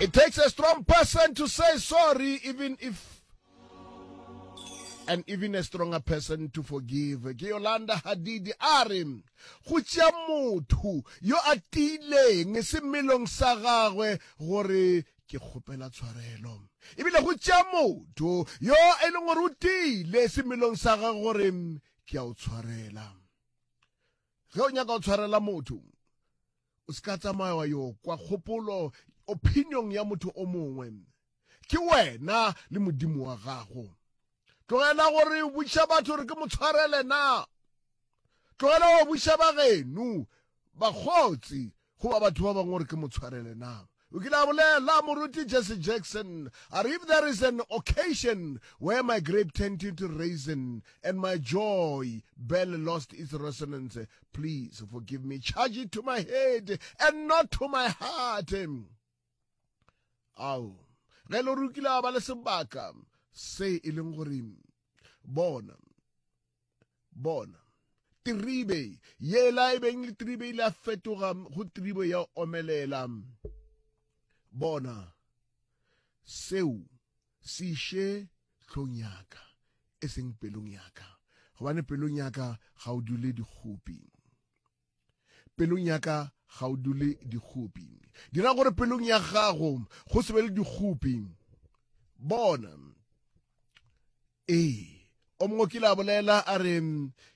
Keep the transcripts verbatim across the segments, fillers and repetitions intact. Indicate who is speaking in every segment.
Speaker 1: It takes a strong person to say sorry, even if and even a stronger person to forgive. Ke Yolanda Hadidi a re go tšea motho yo a tiileng semelong sa gagwe gore ke kgopela tshwarelo, ebile go tšea motho yo e leng gore o tiile semelong sa gagwe gore ke a o tshwarela. Ge o nyaka go tshwarela motho, o se ka tsamaya wa yo kwa kgopolo opinion ya motho o mongwe. Ke wena le Modimo wa gago. Tlogela gore botša batho gore ke mo tshwarele na. Tlogela go botša bageno, bakgotsi goba batho ba bangwe gore ke mo tshwarele na. O kile a bolela moruti Jesse Jackson a re, if there is an occasion where my grape turned into raisin and my joy bell lost its resonance, please forgive me. Charge it to my head and not to my heart. Ao, ge le gore o kile a ba le sebaka se e leng gore bona bona tribe yela e beng le tribe ile a fetoga go tribe ya omelela, bona seo se iše hlong yaka e seng pelong yaka, gobane pelong yaka ga o dule dikgopi, pelong yaka ga o dule dikgopi. Dira gore pelong ya gago go se be le dikgopi. Bona, ee, o mongwe kile a bolela a re,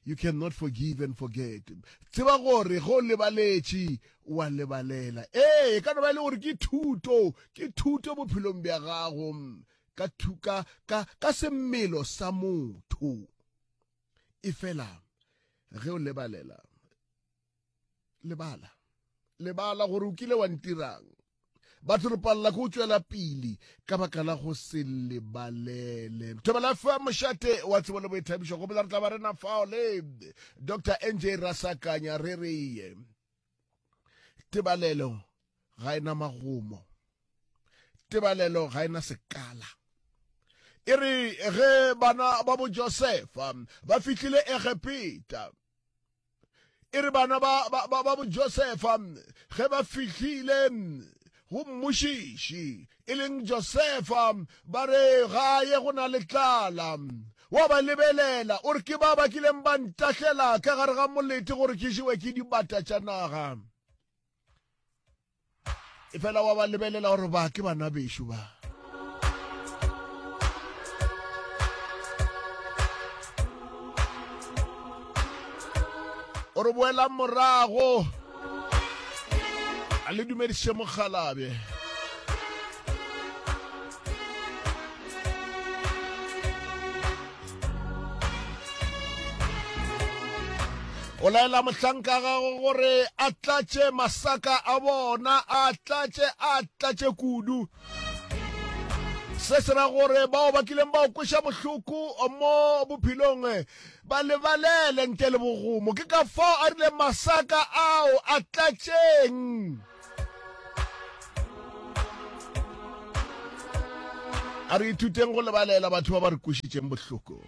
Speaker 1: you cannot forgive and forget. Tseba gore ge o lebaletše wa lebalela. Ee, e ka no ba e le gore ke thuto, ke thuto bophelong bja gago ka thuka ka ka semmelo sa motho. E fela ge o lebalela, lebala, lebala gore o kile wa ntirang. Batho re palela ke go tšwela pele ka baka la go se lebalele. Thobela F M mošate wa tsebo le boithabišo, gopola re tla ba rena fao le Doctor N J Rasakanya. Re re tebalelo ga ena magomo, tebalelo ga ena sekala. E re ge bana ba bo Josefa ba fihlile Egepeta, e re bana ba, ba, ba, ba bo Josefa ge ba fihlile go mmušiši e leng Josefa, ba re gae go na le tlala. Wa ba lebelela o re ke ba ba kileng ba ntahlela ka gare ga molete gore ke jewe ke dibata tša naga. E fela wa ba lebelela gore ba ke bana bešo ba. O re boela morago a le dumediše mokgalabje. O laela mohlanka gago gore a tlatše masaka a bona, a tlatše, a tlatše kudu. Se se ra gore bao ba kileng ba o kweša bohloko mo bophelong ba lebalele ntle le bogomo. Ke ka fao a rile masaka ao a tlatšeng. A re ithuteng go lebalela batho ba ba re kwešitšeng bohloko.